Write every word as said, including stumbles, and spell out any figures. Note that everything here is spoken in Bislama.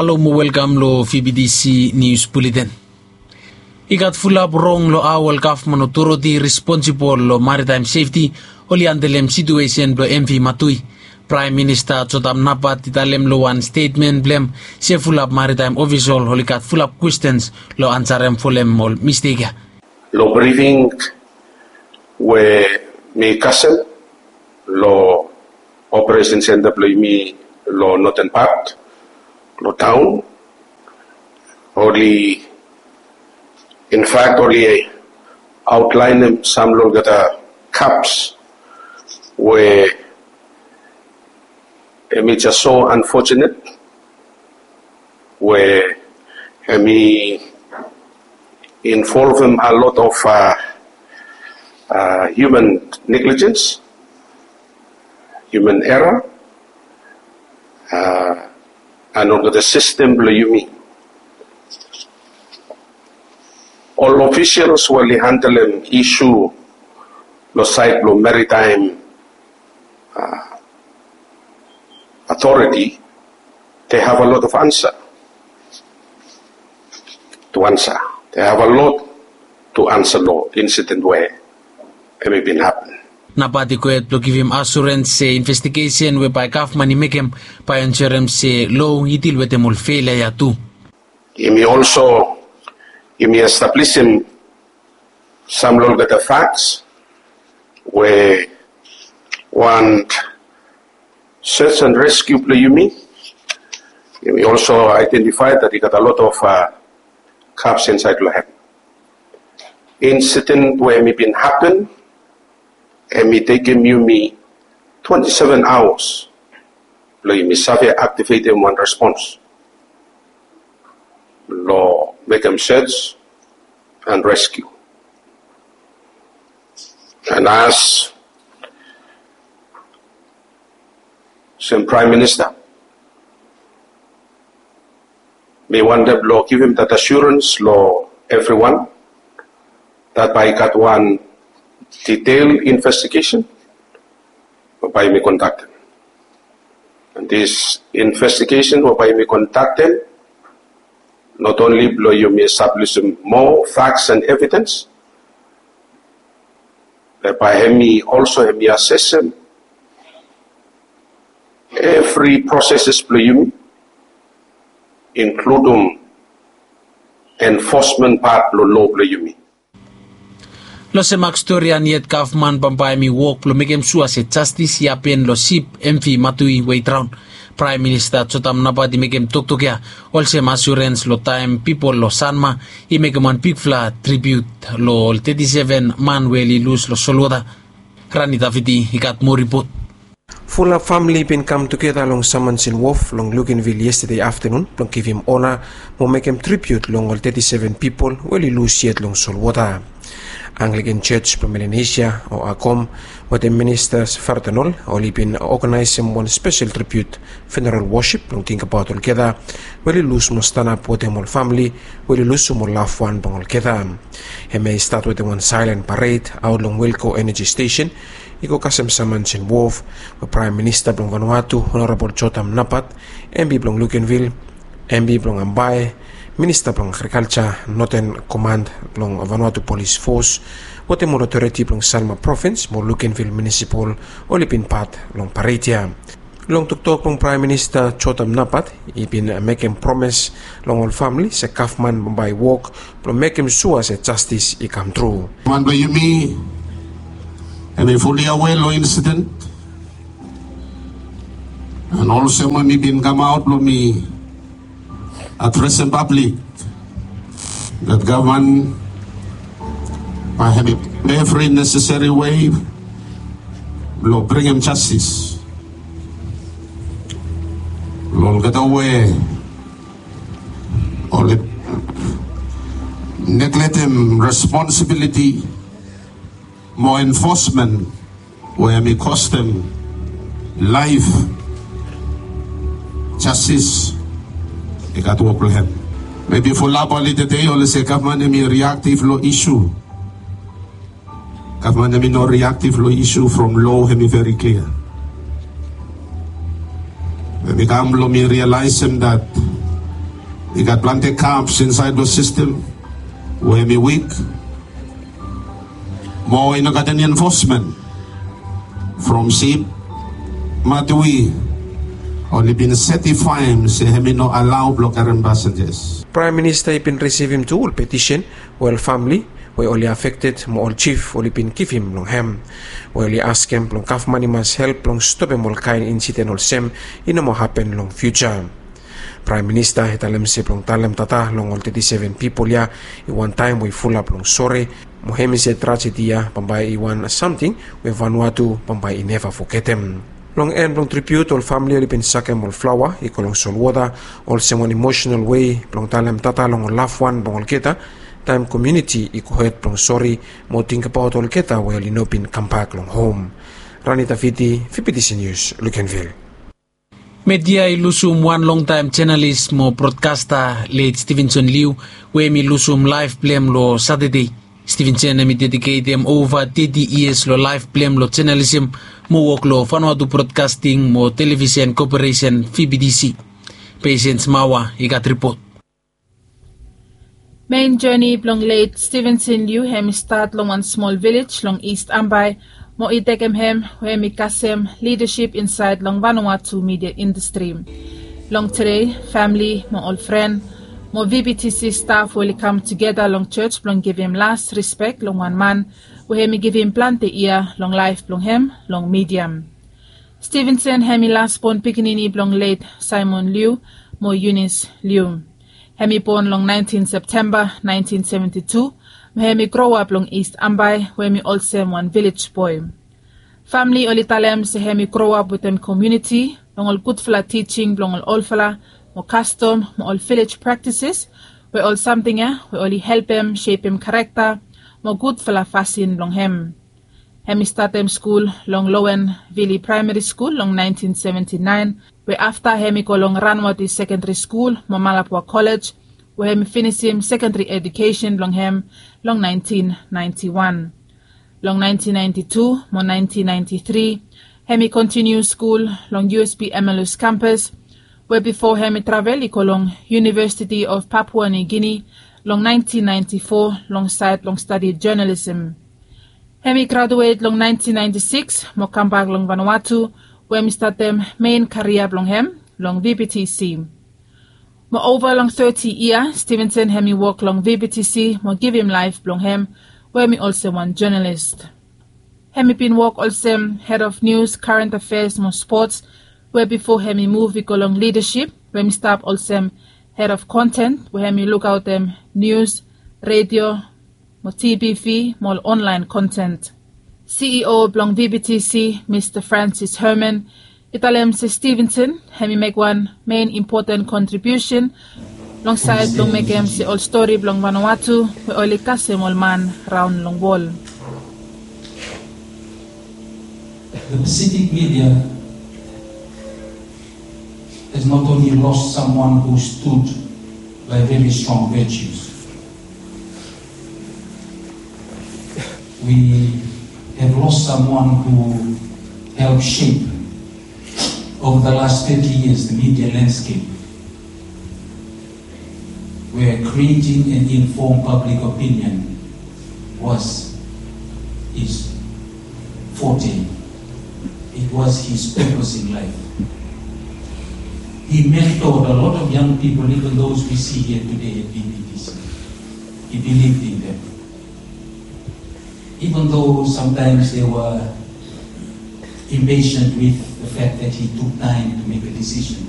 Halo mo welkam long V B T C News Bulletin. I gat fulap rong long hao ol gavman otoriti responsibol long maritaem sefti oli handelem situesen blong M V Matui. Praem Minista Jotam Napat i talem long wan stetmen blong hem se fulap maritaem ofisol oli gat fulap kwestens long ansarem folem ol mistek ya. Long brifing we mi kasem long operesen senta blong yumi long noten pat long taon, oli, in fact, oli aotlaenem sam long olgeta kaps we hemi jas so anfojenet we hemi involvem a lot of, uh, uh, human negligence, human error, uh, and olgeta sistem blong yumi. Ol ofisals we oli handelem isu long saed blong maritaem, uh, authority, they have a lot of answer to answer. They have a lot to answer long incident we hemi bin hapen. Napat i gohed blong givim asurens se investigesen we bae gavman i mekem bae ensurem se lo i dil wetem ol felia ya tu. Yumi also, yumi establisim sam long olgeta faks we wan search and rescue blong yumi, yumi also identify that i gat a lot of, uh, kaps insaed long hem. Insident we hemi bin hapen, hemi tekem yumi twenty-seven hours blong yumi save aktivetem wan respons blong mekem search and rescue. And as olsem Praem Minista, mi wantem blong givim that assurance long evriwan that bae i gat wan detail investigesen we bae yumi kondaktem. And this investigation we bae yumi kondaktem, not only blong yumi establisim moa faks and evidens, be bae hemi also hemi asesem evri proseses blong yumi, inkludem enfosmen pat blong lo blong yumi. Long semak stori ya, yet gavman bambae hemi wok blong mekem sua se jastis i hapen long sip M V Matui we i draon. Praem Minista Jotam Napat i mekem toktok ya olsem asurens long taem pipol long Sanma i mekem wan bigfala tribiut long ol teti seven man we oli lus long solwota. Rani Davidi i gat moa ripot. Fulap famili i bin kam tugeta long Simonsen Wof long Luganville yestade aftanun blong givim ona mo mekem tribiut long ol teti seven pipol we oli lus yet long solwota. Anglikan Jos blong Melanesia o ACOM wetem Minista Fardenol oli bin oganaesem wan spesel tribiut funeral wosip blong tingbaot olgeta we oli lus mo stanap wetem ol famili we oli lusum ol lafwan blong olgeta. Hemia i stat wetem wan saelen pared aot long Wilco Energy Station i go kasem Simonsen Wof, we Praem Minista blong Vanuatu Honorabol Jotam Napat, M P blong Luganville, M P blong Ambae, Minista blong Agrikalja, Noten Komand blong Vanuatu Polis Fos, wetem ol otoriti blong Sanma Provins mo Luganville Munisipal oli bin pat long pared ya. Long toktok blong Praem Minista Jotam Napat, i bin mekem promes long ol famili se gavman bambae i wok blong mekem sua se jastis i kamtru. Man blong yumi hemi fuli awe long insiden, and olsem we mi bin kamaot blong mi adresem pablik, that gavman bae hemi evri neseseri wei blong bringim jastis long olgeta we oli neglektem responsibiliti mo enfosmen we hemi kostem laef. Jastis i gat wok blong hem. Mebi fulap oli tede oli se gavman hemi riaktiv long isu. Gavman hemi no riaktiv long isu from lo hemi veri klia. Hemi kam blong mi rialaesem that I gat planti kaps insaed long sistem we hemi wik. Mo i no gat eni enfosmen from sip. Matwi oli bin setifaem se hemi no alao blong karem pasenjas. Praem Minista i bin risivim tu ol petisen we ol famle we oli afekted mo ol jif oli bin givim long hem, we oli askem blong gavman i mas help blong stopem ol kaen insiden olsem i no moa hapen long fiuja. Praem Minista i talem se blong talem tata long ol teti seven pipol ya i wan taem we i fulap long sore, mo hemi se trajedi ya bambae i wan samting we Vanuatu bambae i neva fogetem. Long en blong tribiut, ol famle oli bin sakem ol flaoa i go long solwota olsem wan emosenal wei blong talem tata long ol lafwan blong olgeta, taem komuniti i gohed blong sore mo tingbaot olgeta we oli no bin kambak long hom. Rani Tafiti, V B T C News, Lukenvil. Media i lusum wan longtaem jenalis mo brodkasta, let Stevenson Liu, we hemi lusum laef blong hem long Satade. Stevenson hemi dediketem ova teti yias long laef blong hem long jenalisem mo wok long Vanuatu Brodkasting mo Televisen Koporesen, V B T C. Patience Mawa i gat ripot. Mein joni blong let Stevenson Liu hemi stat long wan smol vilej long East Ambae, mo i tekem hem we hemi kasem lidasip insaed long Vanuatu midia indastri. Long tede, famle mo ol fren mo V B T C staf we oli kam tugeta long jos blong givim las rispek long wan man we hemi givim plante yia long laef blong hem long midia. Stevenson hemi lasbon pikinini blong let Simon Liu mo Eunice Liu. Hemi bon long naentin Septemba naentin seventi tu, mo hemi groap long East Ambae we hemi olsem wan vilej boe. Famle oli talem se hemi groap wetem komuniti long ol gudfala tijing blong ol olfala mo kastom mo ol vilej praktises, we ol samting ya we oli helpem sepem karakta mo gudfala fasin blong hem. Hemi statem skul long Lowen Vili Praemari Skul long naentin seventi naen, we afta hemi go long Ranuati Sekendari Skul mo Malapua Kolej, we hemi finisim sekendari edukesen blong hem long naentin naenti wan. Long naentin naenti tu mo naentin naenti tri, hemi kontiniu skul long U S P Emmaus kampas, we bifo hemi travel i go long University of Papua New Guinea long naentin naenti fo long saed blong stadi jonalisem. Hemi graduet long naentin naenti sikis mo kambak long Vanuatu, we hemi statem mein karia blong hem long V B T C. Mo ova long teti yia, Stevenson hemi wok long V B T C mo givim laef blong hem, we hemi olsem wan jonalis. Hemi bin wok olsem hed of nius, karent afeas mo spots, we bifo hemi muv i go long lidasip, we hemi stap olsem hed of konten, we hemi lukaotem nius, redio, mo T V mo ol onlaen konten. C E O blong V B T C, Mista Francis Herman, i talem se Stevenson hemi mek wan mein impoten kontribiusen long saed blong mekem se ol stori blong Vanuatu we oli kasem ol man raon long wol. The Pacific media has not only lost someone who stood by very strong virtues, we have lost someone who helped shape over the last thirty years the media landscape, where creating an informed public opinion was his forte. It was his purpose in life. He mentored a lot of young people, even those we see here today at V B T C. He believed in them. Even though sometimes they were impatient with the fact that he took time to make a decision,